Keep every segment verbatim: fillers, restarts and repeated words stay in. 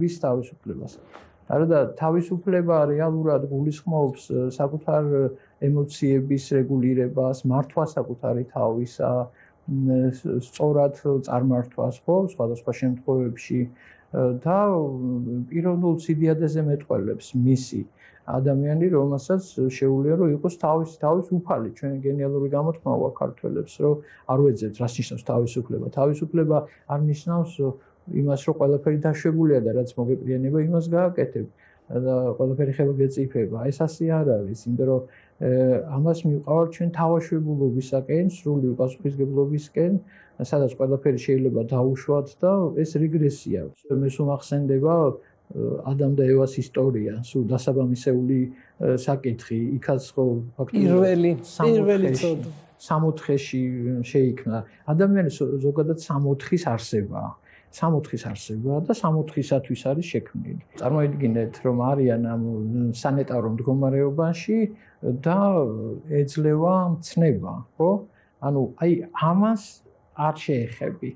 ვის თავისუფლებას. არა და თავისუფლება რეალურად გულისხმობს საკუთარ ემოციების რეგულირებას, მართვა საკუთარი თავისა, სწორად წარმართვას, ხო, სხვადასხვა შემთხვევებში და პიროვნულ სიდიადეზე მეტყველებს მისი ადამიანი, რომელსაც შეუძლია რომ იყოს თავის თავის უფალი. ჩვენ გენიალური გამოთქმა ვაქვს ქართველებს, რომ არ ვეძებთ, რას ნიშნავს თავისუფლება. თავისუფლება არ ნიშნავს იმას, რომ ყველაფერი დაშვებულია და რაც მოგეპრიანება, იმას გააკეთებ და ყველაფერი ხება გეწიფება. ეს ასე არ არის, იმიტომ რომ ამას მივყავართ ჩვენ თავაშვებულობისაკენ, სრული პასუხისგებლობისკენ, სადაც ყველაფერი შეიძლება დაუშვათ და ეს რეგრესია. მე სულ ახსენდება ადამ და ევას ისტორია, სულ დასაბამისეული საკითხი, იქაც ხო ფაქტობრივად პირველი პირველი წოდი სამოთხეში შეიქმნა. ადამიანი ზოგადად სამოთხის არსებაა. სამოთხის არსებაა და სამოთხისათვის არის შექმნილი. წარმოიდგინეთ, რომ არიან ამ სანიტარო მდგომარეობაში და ეძლევა მცნება, ხო? ანუ აი ამას არ შეეხები.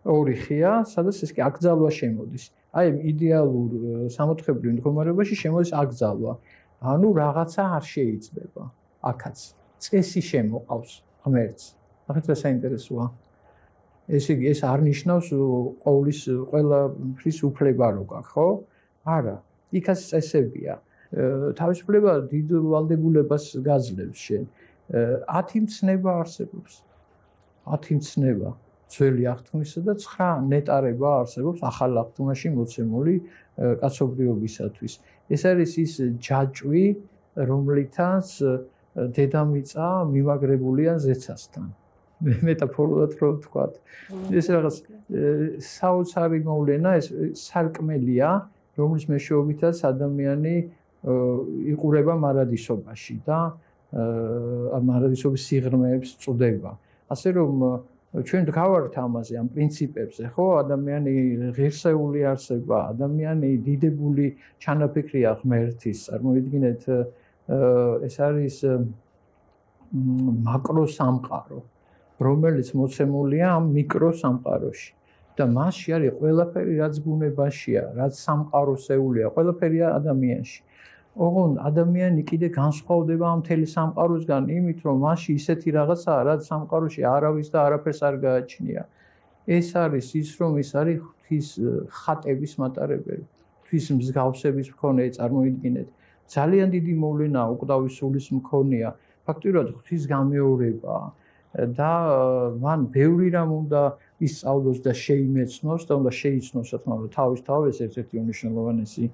ორი ხია, სადაც ეს კი აკრძალვა შემოდის. აი იდეალურ სამოთხებრივ მდგომარეობაში შემოდის აკრძალვა. ანუ რაღაცა არ შეიძლება. აქაც წესი შემოყავს ღმერთს. ახლა ეს საინტერესოა. ესე იგი ეს არ ნიშნავს ყოვლის ყველაფრის უფლება რო გაქვს, ხო? არა. იქაც წესებია. თავისუფლება დიდ ვალდებულებას გაძლევს შენ. ათი მცნება არსებობს. ათი მცნება. ძველი აღთქმისა და ცხრა ნეტარება არსებობს ახალ აღთქმაში მოცემული კაცობრიობისათვის. ეს არის ის ჯაჭვი, რომლითაც დედამიწა მიმაგრებულია ზეცასთან. მეტაფორულად რო ვთქვათ. ეს რაღაც საოცარი მოვლენა, ეს სარკმელია, რომლის მეშვეობითაც ადამიანი იყურება მარადისობაში და მარადისობის სიღრმეებს წვდება. ასე რომ ჩვენ გავართ ამაზე, ამ პრინციპებზე, ხო, ადამიანი ღირსეული არსება, ადამიანი დიდებული ჩანაფიქრია ღმერთის. წარმოიდგინეთ, ეს არის მაკრო სამყარო, რომელიც მოცემულია ამ მიკრო სამყაროში და მასში არის ყველაფერი, რაც ბუნებაშია, რაც სამყაროსეულია, ყველაფერია ადამიანში. ოღონდ ადამიანი კიდე განსხვავდება ამ მთელი სამყაროსგან იმით, რომ მასში ისეთი რაღაცაა, რაც სამყაროში არავის და არაფერს არ გააჩნია. ეს არის ის, რომ ის არის ღვთის ხატების მატარებელი, ღვთის მსგავსების მქონე, წარმოიდგინეთ. ძალიან დიდი მოვლენაა უკვდავის სულის მქონეა, ფაქტობრივად ღვთის გამეორებაა. და მან ბევრი რამ უნდა ისწავლოს და შეიმეცნოს და უნდა შეიცნოს რა თქმა უნდა თავის თავის ერთ-ერთი უმნიშვნელოვანესი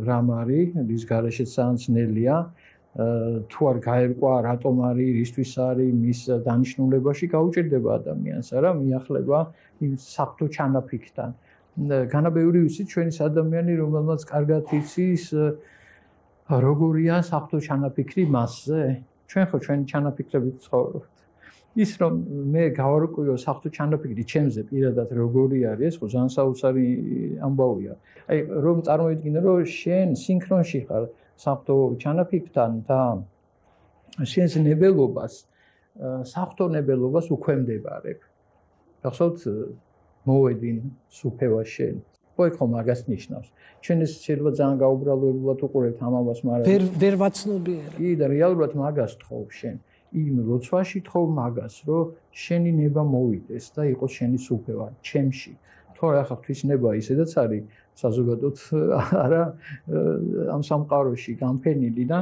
რამ არის, რის გარეშეც ძალიან ძნელია, თუ არ გაერკვა რატომ არის, რისთვის არის, მის დანიშნულებაში გაუჭირდება ადამიანს, არა, მიახლება იმ საფრთხო ჩანაფიქრთან. განაბეური ვიცით ჩვენის ადამიანი, რომელმაც კარგად იცის როგორია საფრთხო ჩანაფიქრი მასზე. ჩვენ ხო ჩვენი ჩანაფიქრებით ცხოვრობთ. ის რომ მე გავარკვიო საფრთხო ჩანაფიქრი ჩემზე პირადად როგორი არის, ეს ხო ძალიან საოცარი ამბავია. აი რომ წარმოიდგინე რომ შენ სინქრონში ხარ საფრთხო ჩანაფიქრთან და შენს ნებელობას საფრთხო ნებელობას უქვემდებარებ. გახსოვთ მოვედინ სუფევა შენ. ხო ხო მაგას ნიშნავს. ჩვენ ეს შეიძლება ძალიან გაუბრალოებულად უყურებთ ამ ამას, მაგრამ ვერ ვერ ვაცნობიერებ. კი და რეალურად მაგას თხოვ შენ. იმ ლოცვაში თხოვ მაგას, რომ შენი ნება მოვიდეს და იყოს შენი სუფევა ჩემში. თორე ახლა ღვთისნება ისედაც არის საზოგადოდ არა ამ სამყაროში განფენილი და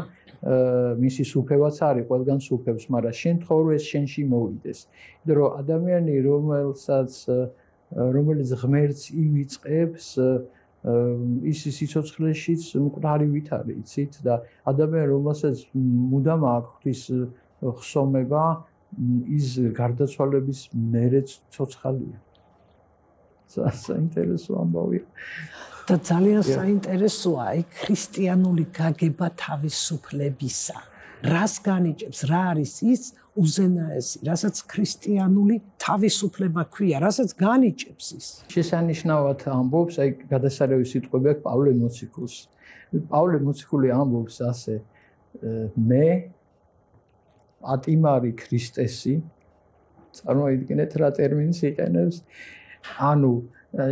მისი სუფევაც არის ყველგან სუფევს, მაგრამ შენ თხოვ რომ ეს შენში მოვიდეს. იმიტომ რომ ადამიანი რომელსაც რომელიც ღმერთს ივიწყებს ის სიცოცხლეშიც მკვდარი ვით არის, იცით და ადამიანი რომელსაც მუდამ აქვს ღვთის ხსოვნება, ის გარდაცვალების მერეც ცოცხალია. საინტერესო ამბავია. და ძალიან საინტერესოა აი ქრისტიანული გაგება თავისუფლებისა. რას განიჭებს, რა არის ის უზენაესი, რასაც ქრისტიანული თავისუფლება ქვია, რასაც განიჭებს ის. შესანიშნავად ამბობს, აი გადასარევი სიტყვები აქვს პავლე მოციქულს. პავლე მოციქული ამბობს ასე, მე ატიმარი ქრისტესი, წარმოიდგინეთ რა ტერმინს იყენებს, ანუ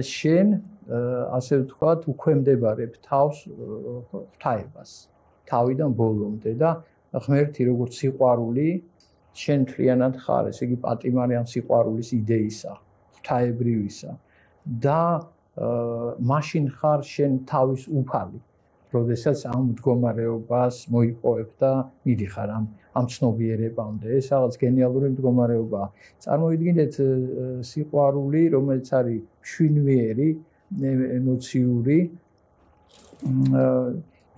შენ ასე ვთქვათ, უქვემდებარებ თავს ღვთაებას, თავიდან ბოლომდე და ღმერთი როგორც სიყვარული შენ მთლიანად ხარ, ესე იგი პატიმარი ამ სიყვარულის იდეისა, ღვთაებრივისა და მაშინ ხარ შენ თავის უფალი, როდესაც ამ მდგომარეობას მოიპოვებ და მიდიხარ ამ ამ ცნობიერებამდე. ეს რაღაც გენიალური მდგომარეობაა. წარმოიდგინეთ სიყვარული, რომელიც არის მშვინვიერი, ემოციური,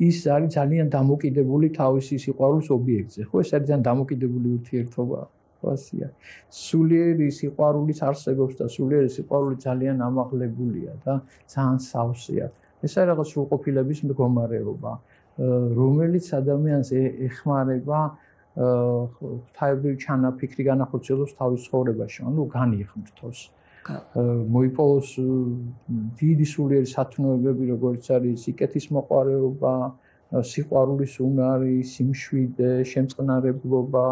ის არის ძალიან დამოკიდებული თავისი სიყვარულის ობიექტზე. ხო, ეს არის ძალიან დამოკიდებული ურთიერთობა. ასია. სულიერი სიყვარულის არსებობს და სულიერი სიყვარული ძალიან ამაღლებულია და ძალიან სავსეა. ეს არის რაღაც სრულყოფილების მდგომარეობა, რომელიც ადამიანს ეხმარება ღვთაებრივი ჩანაფიქრი განახორციელოს თავის ცხოვრებაში, ანუ განიღმრთოს. მოიპოვოს დიდი სულიერი სათნოებები, როგორც არის სიკეთის მოყვარეობა, სიყვარულის უნარი, სიმშვიდე, შემწყნარებლობა,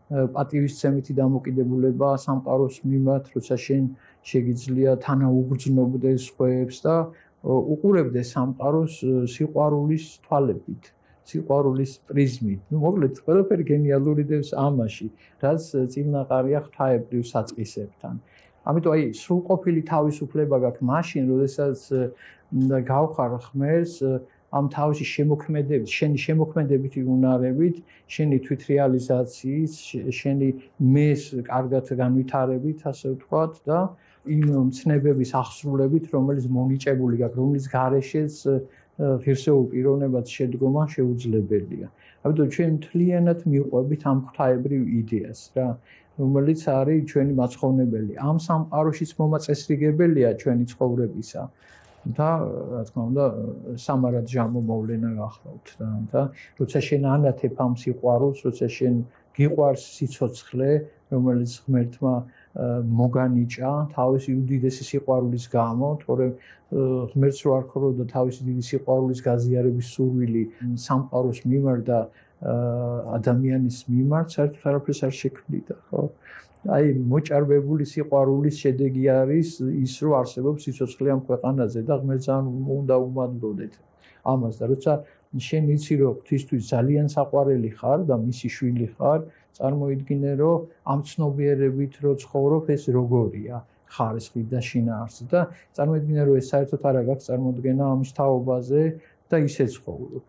პატივისცემითი დამოკიდებულება სამყაროს მიმართ, როცა შენ შეგიძლია თანაუგრძნობდეს სხვებს და უყურებდე სამყაროს სიყვარულის თვალებით, სიყვარულის პრიზმით. ნუ მოკლედ, ყველაფერი გენიალური დევს ამაში, რაც წინაყარია ღვთაებრივ საწყისებთან. ამიტომ აი სრულყოფილი თავისუფლება გაქვს მაშინ, როდესაც გავხარ ღმერთს ამ თავისი შემოქმედებით, შენი შემოქმედებითი უნარებით, შენი თვითრეალიზაციის, შენი მეს კარგად განვითარებით, ასე ვთქვათ და იმ მცნებების აღსრულებით, რომელიც მონიჭებული გაქვს, რომლის გარეშეც ღირსეულ პიროვნებად შედგომა შეუძლებელია. ამიტომ ჩვენ მთლიანად მივყვებით ამ ღვთაებრივ იდეას რა, რომელიც არის ჩვენი მაცხოვნებელი. ამ სამყაროშიც მომაწესრიგებელია ჩვენი ცხოვრებისა და რა თქმა უნდა სამარად ჟამო მოვლენა გახლავთ და და როცა შენ ანათებ ამ სიყვარულს, როცა შენ გიყვარს სიცოცხლე, რომელიც ღმერთმა მოგანიჭა თავისი უდიდესი სიყვარულის გამო, თორემ ღმერთს რო არ ქროდა თავისი დიდი სიყვარულის გაზიარების სურვილი სამყაროს მიმართ და ადამიანის მიმართ, საერთოდ არაფერს არ შექმნიდა, ხო? აი მოჭარბებული სიყვარულის შედეგი არის ის, რომ არსებობს სიცოცხლე ამ ქვეყანაზე და ღმერთს უნდა უმადლოდეთ ამას და როცა შენ იცი რომ ღვთისთვის ძალიან საყვარელი ხარ და მისი შვილი ხარ, წარმოიდგინე რომ ამ ცნობიერებით რო ცხოვრობ, ეს როგორია ხარისხი და შინაარსი და წარმოიდგინე რომ ეს საერთოდ არ აქვს წარმოდგენა ამის თაობაზე და ისე ცხოვრობ.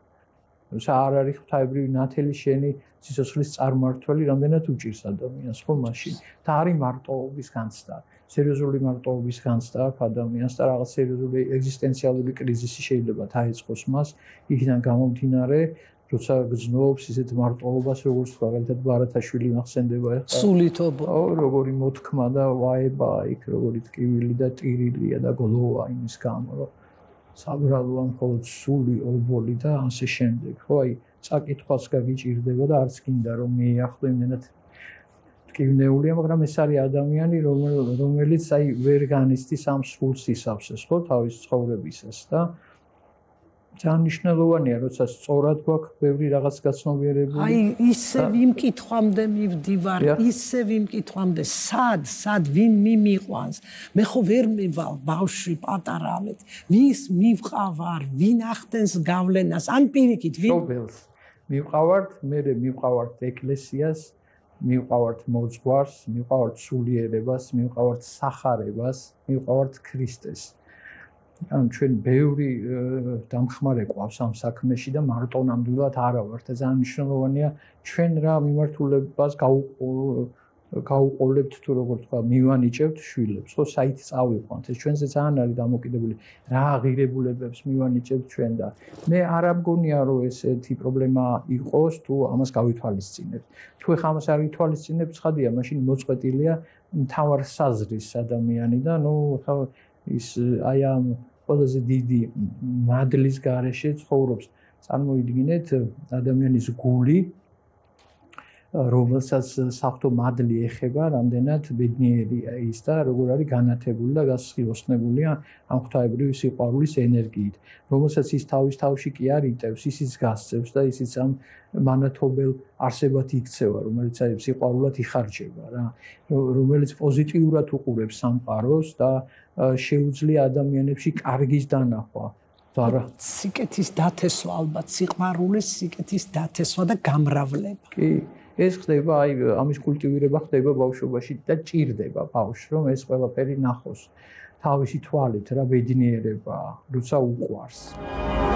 როცა არ არის ღვთაებრივი ნათელი შენი სიცოცხლის წარმმართველი, რამდენად უჭირს ადამიანს ხო მაშინ და არის მარტოობის განცდა, სერიოზული მარტოობის განცდა აქვს ადამიანს და რაღაც სერიოზული ეგზისტენციალური კრიზისი შეიძლება დაეწყოს მას, იქიდან გამომდინარე, როცა გრძნობს ისეთ მარტოობას, როგორც თქვა, მაგალითად ბარათაშვილი მახსენდება ეხლა. სულითობა. ო, როგორი მოთქმა და ვაება იქ, როგორი ტკივილი და ტირილია და გლოვა იმის გამო, რომ საბრალოა მხოლოდ სული, ობოლი და ასე შემდეგ. ხო, აი, წაკითხვას გაგიჭირდება და არც გინდა რომ მეახლო იმენად ტკივნეულია, მაგრამ ეს არის ადამიანი, რომელიც აი ვერ განიცდის ამ სრულ სისავსეს, ხო, თავის ცხოვრებისას და ძალიან მნიშვნელოვანია, როცა სწორად გვაქვს ბევრი რაღაც გაცნობიერებული. აი, ისე ვიმკითხვამდე მივდივარ, ისე ვიმკითხვამდე, სად, სად ვინ მიმიყვანს? მე ხო ვერ მივალ ბავშვი პატარამეთ. ვის მივყავარ, ვინ ახდენს გავლენას? ან პირიქით, ვინ მშობელს მივყავართ, მე მივყავართ ეკლესიას, მივყავართ მოძღვარს, მივყავართ სულიერებას, მივყავართ სახარებას, მივყავართ ქრისტეს. ან ჩვენ ბევრი დამხმარე ყავს ამ საქმეში და მარტო ნამდვილად არა ვართ და ძალიან მნიშვნელოვანია ჩვენ რა მიმართულებას გაუყოლებთ თუ როგორ თქვა მივანიჭებთ შვილებს ხო საით წავიყვანთ ეს ჩვენზე ძალიან არის დამოკიდებული რა აღირებულებებს მივანიჭებთ ჩვენ და მე არ ამგონია რომ ესეთი პრობლემა იყოს თუ ამას გავითვალისწინებთ თუ ეხლა ამას არ ვითვალისწინებთ ხადია მაშინ მოწყვეტილია მთავარ საზრის ადამიანი და ნუ ხა ის აი ამ ყველაზე დიდი მადლის გარეშე ცხოვრობს. წარმოიდგინეთ ადამიანის გული რომელსაც საფრთხო მადლი ეხება, რამდენად ბედნიერია ის და როგორ არის განათებული და გასხილოსნებულია ამ ღვთაებრივი სიყვარულის ენერგიით, რომელსაც ის თავის თავში კი არ იტევს, ისიც გასცევს და ისიც ამ მანათობელ არსებად იქცევა, რომელიც აი სიყვარულად იხარჯება რა, რომელიც პოზიტიურად უყურებს სამყაროს და შეუძლია ადამიანებში კარგის დანახვა. სიკეთის დათესვა ალბათ, სიყვარულის სიკეთის დათესვა და გამრავლება. კი, ეს ხდება, აი ამის კულტივირება ხდება ბავშვობაში და ჭირდება ბავშვს, რომ ეს ყველაფერი ნახოს თავისი თვალით რა ბედნიერება, როცა უყვარს.